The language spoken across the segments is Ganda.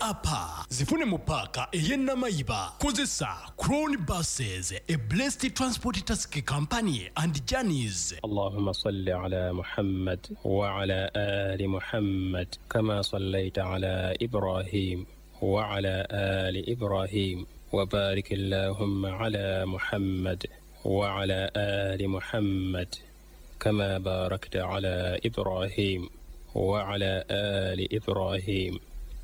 Apa zifune mu paaka ey'e Namayiba. Kozesa Crown Buses, a blessed transport taxi company and journeys. اللهم صل على محمد وعلى آل محمد كما صليت على إبراهيم وعلى آل إبراهيم وبارك اللهم على محمد وعلى آل محمد كما باركت على إبراهيم وعلى آل إبراهيم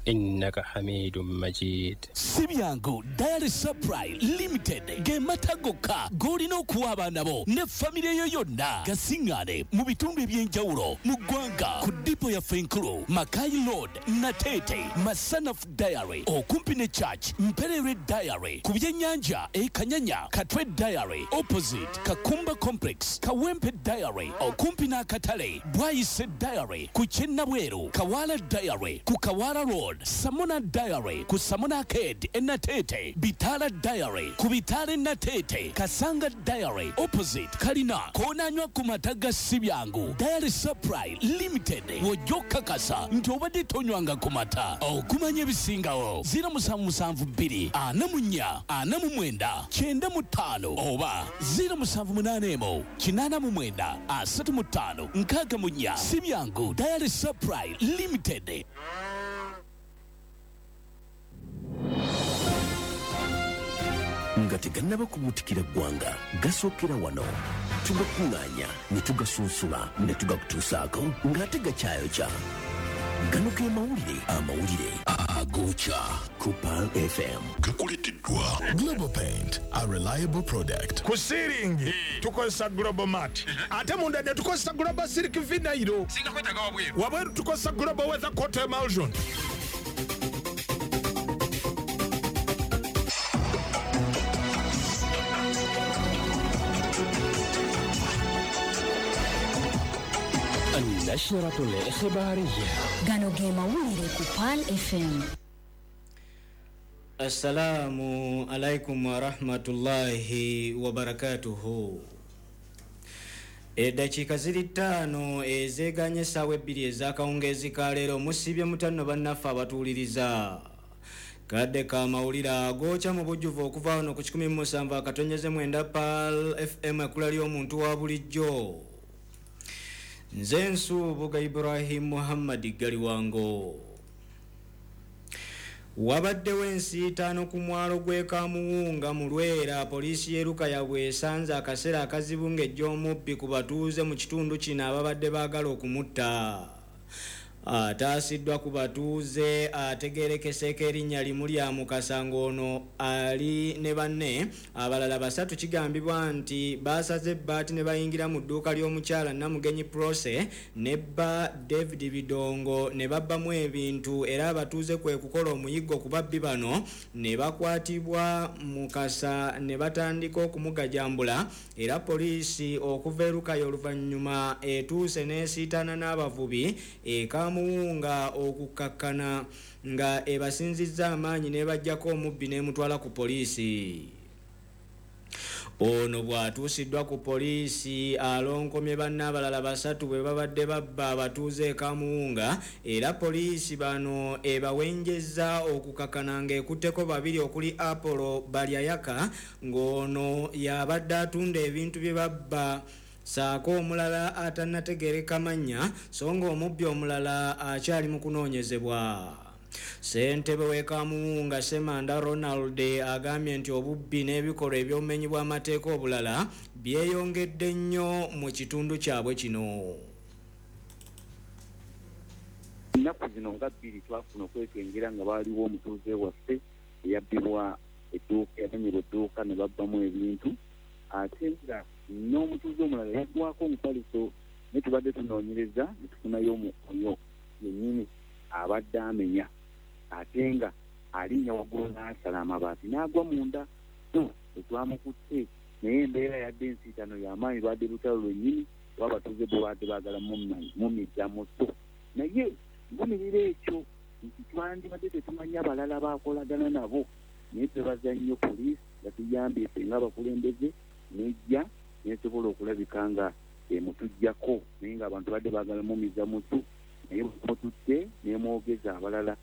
إنك حميد مجيد. Si byangu. Dairy Supply Limited ge mata gokka g'olina okuwa abaana bo ne famire yo yonna. Gasiŋŋaane mu bitundu eby'enjawulo mu ggwanga ku dipo yaffe enkulu, Makai Road, Nateete, Masanaf Dairy okumpi ne Church, Mpererwe Dairy ku byennyanja e Kanyanya, Katwe Dairy opposite Kakumba Complex, Kawempe Dairy okumpi n'akatale, Bwayise Dairy ku Kyennabweru, Kawala Dairy ku Kawala Road, Samona Dairy ku Samona Arcade e Nateete, Bitala Dairy ku Bitala e Nateete, Kasanga Dairy opposite Kalina. Koonanywa ku mata ga Sibyangu Dairy Supply Limited, w'ojja okukakasa nti obadde tonywanga ku mata. Okumanya ebisingawo, 0772 44 49 95 oba 0781 89 35 64. Sibyangu Dairy Supply Limited. Nga tegannaba kubuutikira ggwanga, gasookera wano. Tugakuŋŋaanya ne tugasunsula ne tugakutuusaako ng'ate gakyayokya. Gano ge mawulire, amawulire agookya ku Pearl FM. Gakuleteddwa Global Paint, a reliable product. Ku ceiling tukozesa Global Mat, ate munda ne tukozesa Global Silk Vinyl. Wabweru tukozesa Global Weather Coat Emulsion. النشرة الإخبارية. Gano ge mawulire ku Pearl FM. Assalamu alaikum warahmatullahi wabarakatuhu. Eddakiika ziri 5 ezeeganye essaawa 2 ez'akawungeezi ka leero. Musibye mutanno bannaffe abatuwuliriza. Kadde ka mawulire agookya mu bujjuvu okuva wano ku 107.9 Pearl FM, ekkula ly'omuntu wa bulijjo. Nze Nsubuga Ibrahim Muhammad Galiwango. Wabaddewo ensiitaano ku mwalo gw'e Kamuwunga mu Lwera. Poliisi y'e Lukaya bw'esanze akaseera akazibu ng'ejj'omubbi ku batuuze mu kitundu kino ababadde baagala okumutta. Ataasiddwa ku batuuze ategeerekeseeko erinnya limu lya Mukasa, ng'ono ali ne banne abalala 3. Kigambibwa nti baasaze ebbaati ne bayingira mu dduuka ly'omukyala Namugenyi Prose ne bba David Bidongo ne babbamu ebintu, era abatuuze kwe kukola omuyiggo ku babbi bano ne bakwatibwa Mukasa ne batandika okumugajambula. Era poliisi okuva e Lukaya oluvannyuma etuuse n'esiitaana n'abavubi e Kamuwunga okukkakkana nga ebasinzizza amaanyi n'ebaggyako omubbi n'emutwala ku poliisi. Ono bw'atuusiddwa ku poliisi alonkomye banne abalala 3 bwe babadde babba abatuuze e Kamuwunga, era poliisi bano ebawenjezza okukakkana ng'ekutteko 2 okuli Apollo Balyayaka ng'ono y'abadde atunda ebintu bye babba, saako omulala atannategeereka mannya, so ng'omubbi omulala akyali mu kunoonyezebwa. Ssentebe w'e Kamuwunga Ssemanda Ronald agambye nti obubbi n'ebikolwa eby'obumenyi bw'amateeka obulala byeyongedde nnyo mu kitundu kyabwe kino. Ennaku zino nga 2 twafuna okwekengera nga waaliwo omutuuze waffe eyabbibwa edduuka, yamenyerwa edduuka ne babbamu ebintu, ate nga n'omutuuze omulala yaggwako omufaliso. Naye tubadde tunoonyereza ne tufunayo oyo yennyini abadde amenya, ate nga alinnya waggulu n'asala amabaati n'agwa munda. So tetwamukutte, naye embeera yadde ensiitano y'amaanyi, lwadde lutalo lwennyini oba abatuuze bo baadde baagala mumizza muto. Naye nvumirira ekyo nti twandibadde tetumanyi abalala baakolagana nabo, naye twebaza nnyo poliisi nga tuyambye ffe ng'abakulembeze nejja nesobola okulabika nga emutuggyako, naye ng'abantu badde baagala mumiza mutu, naye mututte nemwogeza abalala.